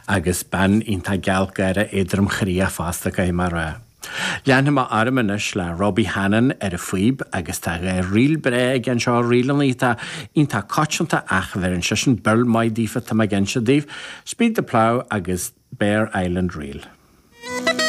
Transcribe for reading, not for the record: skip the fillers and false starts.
Agus bean iontach gealgháireach éadrom-chroíoch fosta, caithfidh mé a rá. Leanfaidh mé orm anois le Robbie Hannan ar an phíb agus tá ríl breá aige anseo, ríleanna atá iontach coitianta ach bheireann seisean beul maith daofa, tá mé ag inse daoibh, Speed the Plough agus Bere Island Reel.